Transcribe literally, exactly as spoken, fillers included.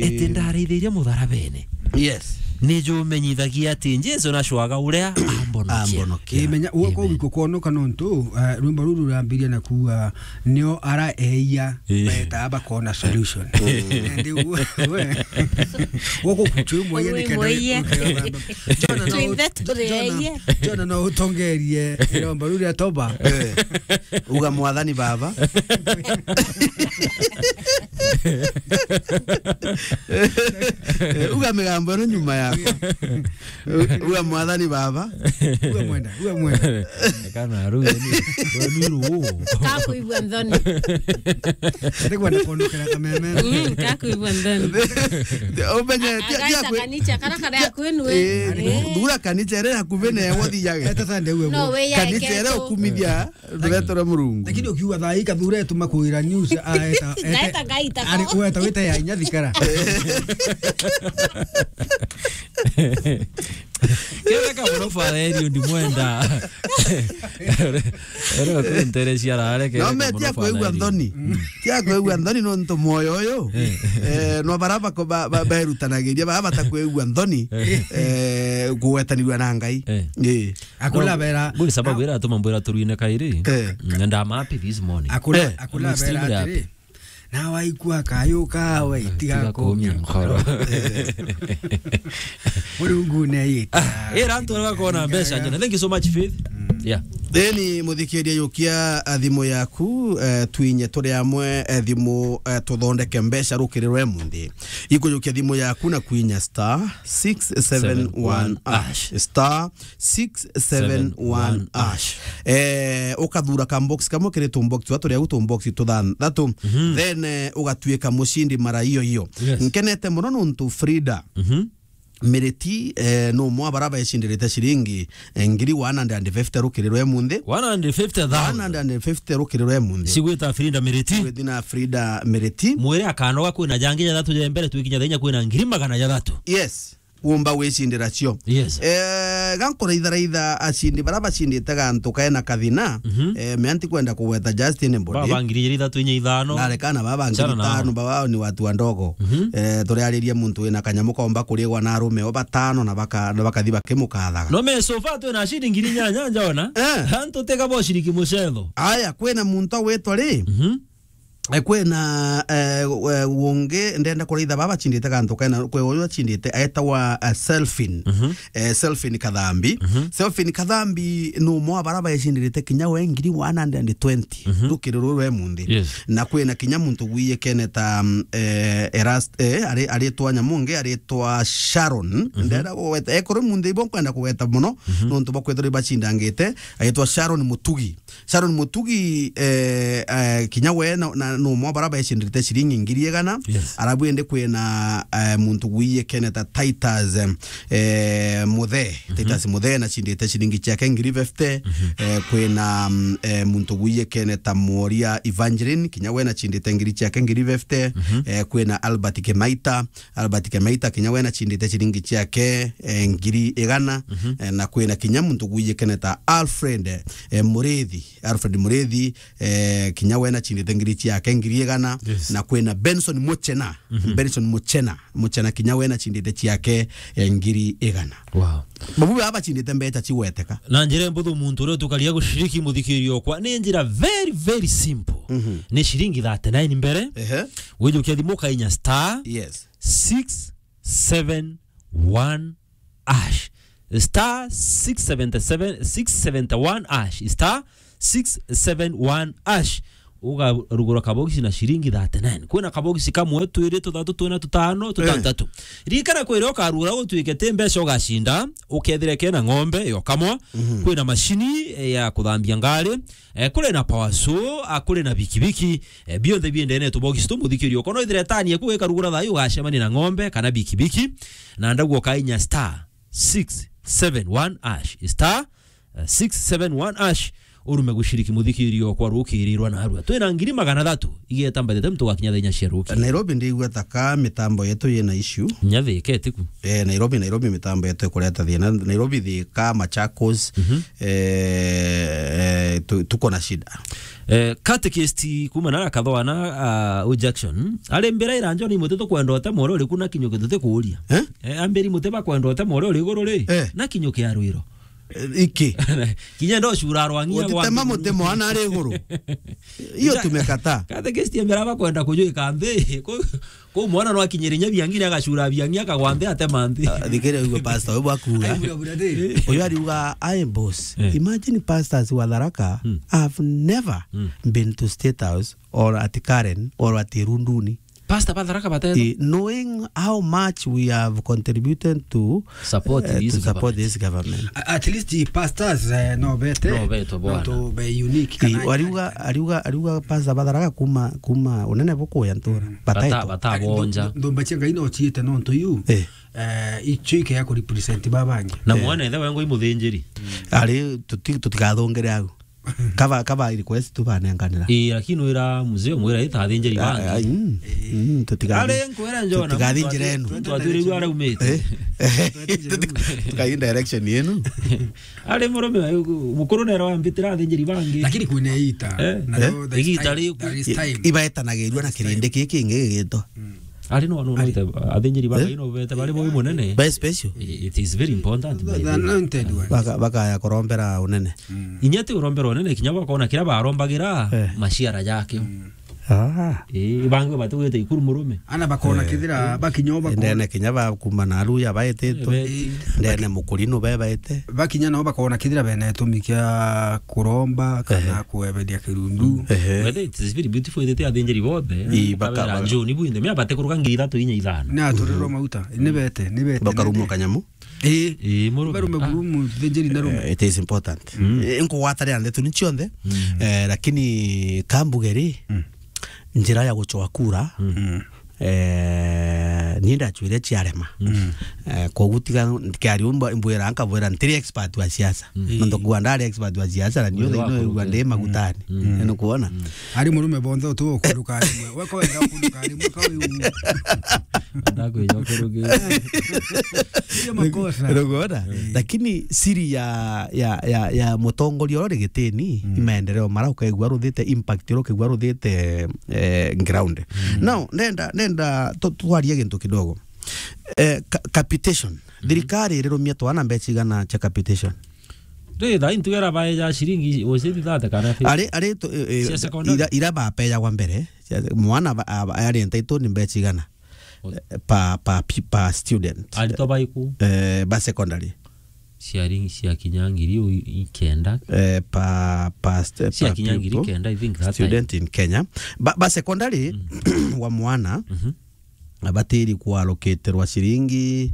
eti ndaraithirie mutharabene. Yes. Nijumenyithagia ati Jesu nacwaga uria ambonokia. Ambonokia. Imenya, uo Amen. Kou ikukonoka nontu, eh, rwimbo ruru rurambiria na kuuga, nio ara eia, eh, beta bakona solution. Ndi we, we. Woko kuchumwa yeye ni kenda. Jona no, Tuimbe turi Jona, eia. Jona no utongerie iromba ruru ria toba. Eh. Uga, "Mwathani Baba." Eh, uga migambo ino nyuma yakwa. Uga, "Mwathani Baba." Uga mwenda, uga mwenda. Kana ruga ni, ni ruo. Kakuigua nthoni. Ndigwa ni kondokera kameme. Mm, kakuigua nthoni. Umenye, tia, tia Agaita kwi- kanicha kara kare akwenu, eh. Eh, thura kanicha ere hakuvi na ewe thiage. Eta Sunday uwe. No, we ya Kanicha ere iketo. Ukumithia. Nduretera Murungu. Lakini ukiuga thaa hii Kathura etuma kuira news, a, eta, eta, Ngaeta ngaita ari ko. Weta wita ya inya thikara. Ketheka muno Father Eliud Mwenda. Ero kunterecia rare ketheka. No, me muno tia Father kwigua Eliud. Nthoni. Mm. Tia kwigua nthoni nontu moyo uyu. Eh. Eh, no bara bako-, ba-, ba-, berutanagiria, bara batakwigua nthoni, eh, kugwetanirua na Ngai. Eh. Eh. Akula No, bera. Nguri sababu iratuma mbwira turwine kairi. Eh. Mm, and I'm happy this morning. Akula, Eh. Akula I'm extremely bera atiri. Happy. Na waikua kayo kawe, tiga tiga kumia kumia nkoro. Nkoro. Murungu ne yita. Ah, ira antu bakona mbeca njene. Thank you so much, Faith. Mm. Yeah. Theni muthikiria yukia, a, thimu yaku, eh, twinye turi amwe, eh, thimu, eh, tuthondeke mbeca rukiri rwa emunthi. Ikujukia thimu yaku na kwinya star six seven one hash. Star six seven one hash. Eh, ukathura ka box kamwe kiri tu box twa turia tu box tuthanthatu. Mhm. Then, eh, ugatuika mucindi mara iyo iyo. Yes. Nkenete muno nontu Frida. Mhm. Miriti, eh, no mwa bara baecindirite ciringi, eh, ngiri one hundred and fifty rukiri rwa emunthi. One hundred fifty thousand. One hundred and fifty rukiri rwa emunthi. Cigwita Frida Miriti. Gwithina Frida Miriti. Mwire akanoga kwina jangi jathatu ja mbere twikinya thenya kwina ngiri magana jathatu. Yes. Umba gwicindira cio. Yes. Eh, gankuraitharaitha acindi bara bacindite gantu kaena kathina, mhm, eh, mea ntikwenda kugweta Justin Body. Baba ngiri ithatu inya ithano. Narekana baba ngiri ithano, baba ni watu wa ndogo. Mhm. Eh, turiariria muntu wina kanyamu kaumba kurigwa na arume o batano na baka-, na bakathi bakimukathaga. No me so far twina acindi ngiri inyanya njona. Eh. Antu tega bo ciriki mucetho. Aya, kwina muntu agwitwa ri? Mhm. Eh, kwina, eh, eh, ungi ndenda kuraitha baba acindite gantu kena, kwi uyu acindite, etawa, eh, Selfin. Mhm. Eh, Selfin Kathambi. Mhm. Selfin Kathambi ni umwe wa bara baecindirite kinya we ngiri one hundred and twenty, mhm, rukiri ruru rwa emunthi. Yes. Na kwina kinya muntu gwiyikene ta, mm, eh, Erast-, eh, ari, aritwa nyamu ungi, aritwa Sharon. Mhm. Ndenda kugweta, ekuru munthi ibo nkwenda kugweta muno, mhm, nontu bwa kwithirwa ibacindangite, aritwa Sharon Mutugi. Sharon Mutugi, eh, eh, kinya we na, na, no mwa bara baecindirite ciringi ngiri igana. Yes. Arabu indi kwina, eh, muntu gwiyikene ta Titus, eh, Muthe. Mhm. Titus Muthe na cindite ciringi ciake ngiri fifty. Mhm. Eh, kwina, mm, eh, muntu gwiyikene ta Moria Evangeline, kinya we na cindite ngiri ciake ngiri fifty. Mhm. Eh, kwina Albert Kimaita, Albert Kimaita, kinya we na cindite ciringi ciake, eh, ngiri igana. Mhm. Eh, na kwina kinya muntu gwiyikene ta Alfred, eh, Murithi. Alfred Murithi, eh, kinya we na cindite ngiri ciake ngiri igana. Yes. Na kwina Benson Muchena. Mhm. Benson Muchena, Muchena kinya we na cindite ciake, eh, ngiri igana. Wow. Babu baba bacindite mbeca cigweteka. Na njira mbuthu muntu uria tukaria gushiriki muthikirio kwa, ni njira very, very simple. Mhm. Ni ciringi thirty-nine mbere. Ehe. Wijukia thimu ukainya star, yes, six seven one hash. Star six seven seven, six seven one hash. Star six seven one hash. Ugarugura kabogisi na ciringi thirty-nine. Kwina kabogisi kamwe, twiri, tuthatu, twina, tutano, eh, tutantatu. Ririkana kwira ukarugura utuike ti mbeca ugacinda, ukethire kena ng'ombe yo kamwa. Mhm. Kwina macini, eh, ya kuthambia ngari, eh, kuri na power saw, ah, kuri na bikibiki, eh, bionthe biendene tubogisi tu muthikirio. Kono ithire tani eku ikarugura thayu ugacemania na ng'ombe kana bikibiki, na ndagu ukainya star six seven one hash, star, eh, six seven one hash, Urume gushiriki muthikirio kwa rukirirwa narua. Twina ngiri magana thatu igeta mbere temu tugakinya thenya cia ruki. Nairobi ndigua taka mitambo yetu yina issue. Nyathi iketiku. Eh, Nairobi, Nairobi mitambo yetu ikureta thina. Nairobi, Thika, Machakos, Mhm. eh, eh, tu-, tuko na shida. Eh, Catechist kuma na Kathwana, ah, u Jackson. Ari mbira iranjo ni muti tukwenda utema uria uriku na kinyo kituti kuuria. Eh? Eh, ambiri muti bakwenda utema uria uri iguru ri, Eh. na kinyo kia rwiro. Eh, iki. Kinya ndo cura rwangia Utitema gwa muti mwana ari iguru. Iyo Ita-, tumekataa. Catechist ambira bakwenda kujwika nthi. Ku-, ku mwana no akinyire nya biangi ni agacura biangi akagwa nthi atema nthi. Ah, thikiria ugue pastor, we bwakuga. Ai, bura, bura, de. Uyu ariuga, "Aye boss, Eh. imagine pastors wa Tharaka Hmm. have never Hmm. been to State House or at Karen or at Runduni." Pastor ba Tharaka batete. Eh, knowing how much we have contributed to, Support eh, this to support government. this government. A-, at least pastors, eh, no bete. No beto bwana. No to be unique Eh, kana ariuga, ariuga, ariuga pastor ba Tharaka kuma, kuma unene bukuya ntura. Mm. Bata-, Bataitwa. Batabonja. Ndo-, ndomba cia Ngai no ciite nontu yu. Eh. Eh, icio ike ya ku represent babangi. Na Eh. mwana ethe wengo imuthinjiri. Ari tuti-, tutigathungire au. Kaba, kaba request tu banenganira. Ii, lakini wira mzee mwira ita athinjiri Ah, bangi. Ah, mm, mm, tutigathi-, Ari nkwira njona, tutigathi muntu njira ati-, enu. muntu atwirigua araumite. Eh? Tukai direction yenu. Ari murume, mukuru nero ambitira athinjiri bangi. Lakini kwina ita. Eh? Na Eh? no, there is Igita time, riu. there is I-, time. Ibaetanagirua na There is kirindi time. giki kingi gigitwa. Mm. Ari no, no, no, Ari. te-, athinjiri ba Eh? Ngai no bete bari bo munene. By special. I-, it is very important, by The, the the way. anointed one. Baka-, bakaya kurombera unene. Mm. Inya ti urombera unene, kinya bakona kiria barombagira Eh. maciara jake. Mm. Ah. Eh, bangi batugite ikuru murume. Ana bakona Eh. kithira bakinya o bakona. Ndene kinya bakuma na aruya baetitwe. Eh, be- Ndene mukurino be baete. Bakinya nao bakona kithira bene itumi kia kuromba kana Ehe. kueberia kirundu. Ehe. Whether it is very beautiful, ithite athinjiri bothe. Ii, baka-, Kabera baka- njuni bu inde, mea bate kuruka ngiri ithatu inya ithano. Na turirwo mauta, ni bete, ni bete, Bakarumwo ni kanyamu. Ii. Ii, murume. Barume Ah. buru muthinjiri na rume. Eh, it is important. Mm. Eh, nkugwatanira ndeto ni cionthe. Mm. Eh, lakini kambugeri, Mm. njira ya gucoa kura, Mm. Mm. Eh, ni ndacwire ciarema. Mm. Eh, koguo tiga, kiario mba-, mbwira, nkabwira, ntiri expert wa siasa. Mm. Nontu kuga ndari expert wa siasa, na niyo Mwiri thaino wakuruke. igua ndi magutani. Mm. Mm. Ni kuona? Mm. Ari murume bonthe utu ukuruka rimwe. We ko wenda ukuruka rimwe, ka wi u. Ndakwija ukuruke. Iyo makosa. Ni kuona? Mm. Lakini siri ya, ya, ya, ya mutongoria uria uri gitini, Mm. ni maendeleo mara ukaigua ruthite, impact uria ukaigua ruthite, eh, ground. Mm. Now, nenda, nenda tu-, twarie gintu kidogo. Eh, ca-, capitation. Mm. Thirikari irirumia twana mbeca igana cia capitation? Ri, thaa ii ntuge irabaeja ciringi, was it thirty kana fifty? Ari, ari tu-, eh, eh, Cia secondary? ira, ira bapejagwa mbere, cia, mwana ba-, aba-, ari entitled ni mbeca igana? O- Eh, per, per pe-, per student. Aritwa baiku? Eh, ba secondary. Ciaringi cia kinya ngiri u-, i-, ikenda. Eh, per, per st-, Cia per kinya ngiri pupil, kenda, I think, that time. student in Kenya. Ba, ba secondary Mm. wa mwana, Mhm. abatiri kuallocaterwa ciringi